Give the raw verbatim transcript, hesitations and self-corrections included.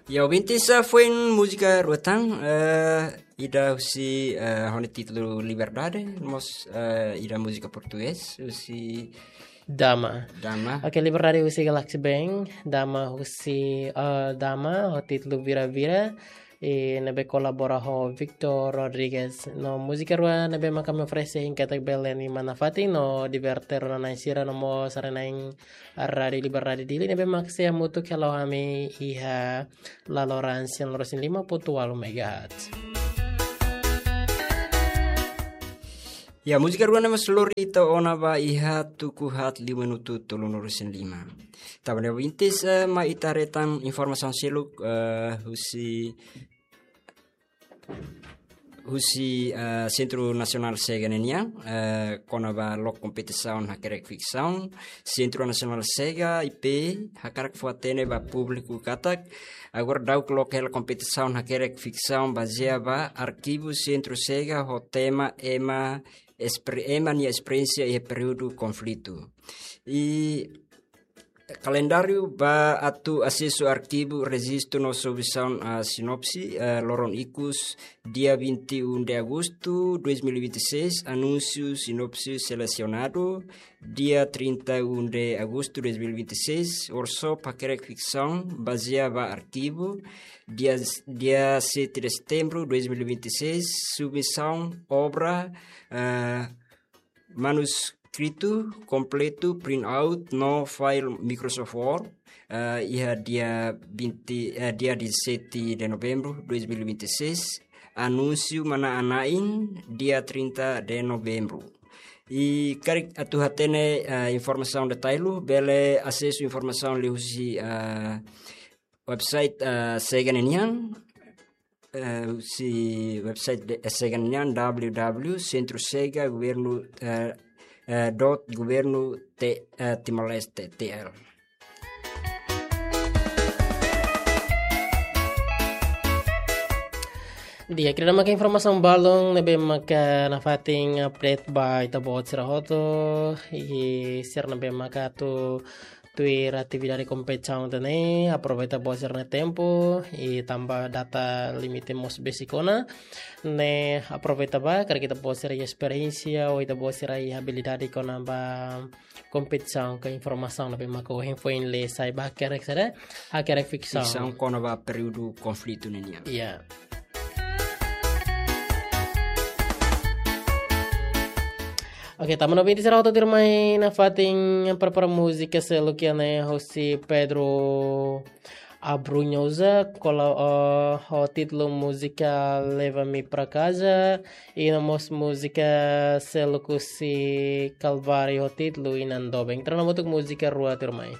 Ya, ouvintes, ah, foin múzika rua tan, eh, ida husi, eh, ho nia títulu Liberdade, mós, eh, ida múzika portugés, husi Dama. Dama. Oke, Liberdade husi Galaxy Band, Dama husi, eh, Dama, ho títulu Vira Vira, i ne'ebé kolabora ho Victor Rodriguez. No múzika rua ne'ebé mak ami oferese hein katak bele imi nafatin no diverte rona-na'in sira no mós haree-na'in Rádiu Liberdade Dili ne'ebé mak sei hamutuk hela ho ami iha laloran sian lima pontu ualu megahertz. Ya, múzika rua ne'e mós lori ita ona ba iha tuku haat liu minutu tolunulu-resin-lima. Tanba ne'e ouvintes, eh, mai ita haree tan informasaun seluk, eh, husi husi, eh, Sentru Nasionál Sega ninian, eh, kona-ba loke kompetisaun hakerek fiksaun. Sentru Nasionál Sega, I P, hakarak fó-hatene ba públiku katak agora daudaun loke hela kompetisaun hakerek fiksaun bazeia ba arkivu Sentru Sega ho tema ema espre-, ema nia esperiénsia iha períodu konflitu. I kalendáriu ba atu asesu arkivu, rejistu no submissão, ah, sinopse, ah, loron ikus, dia vinte e um de agosto dois mil e vinte e seis, anúnsiu sinopse selesionadu, dia trinta e um de agosto dois mil e vinte e seis, workshop hakerek fiksaun bazeia ba arkivu, dia, dia sete de setembro dois mil e vinte e seis, submissão obra, ah, manuskritu kompletu, print out no file Microsoft Word, eh, iha dia vinte, eh, dia dezassete de novembro dois mil e vinte e seis, anúnsiu manán-na'in dia trinta de novembro. I karik atu hatene, eh, informasaun detalle, bele asesu informasaun liuhusi, eh, website, eh, Sega ninian, eh, husi website de, eh, Sega ninian, W W W Centro Sega Governo, eh, eh, dot Governo T-, eh, Timor-Leste, T L. Di'ak, ida-ne'e maka informasaun balun ne'ebé maka nafatin update ba ita-boot sira hotu, i sira ne'ebé maka atu tuir atividade kompetisaun ida-ne'e, aproveita boot sira-nia tempu, i tanba data limite mós besik ona, ne'e aproveita ba, karik ita-boot sira iha esperiénsia, ou ita-boot sira iha abilidade kona-ba kompetisaun ka informasaun ne'ebé maka ohin foin lee sai ba hakerek saida, hakerek fiksaun. Fiksaun kona-ba períodu konflitu ninian. Iya. Oke, tanba ne'e ouvintes sira hotu tuirmai nafatin prepara múzika seluk iha ne'e husi Pedro Abrunhosa, kola, eh, ho títulu múzika Leva-me pra casa, i no mós múzika seluk husi Calvário ho títulu Inan Doben. Entaun hamutuk múzika rua tuirmai.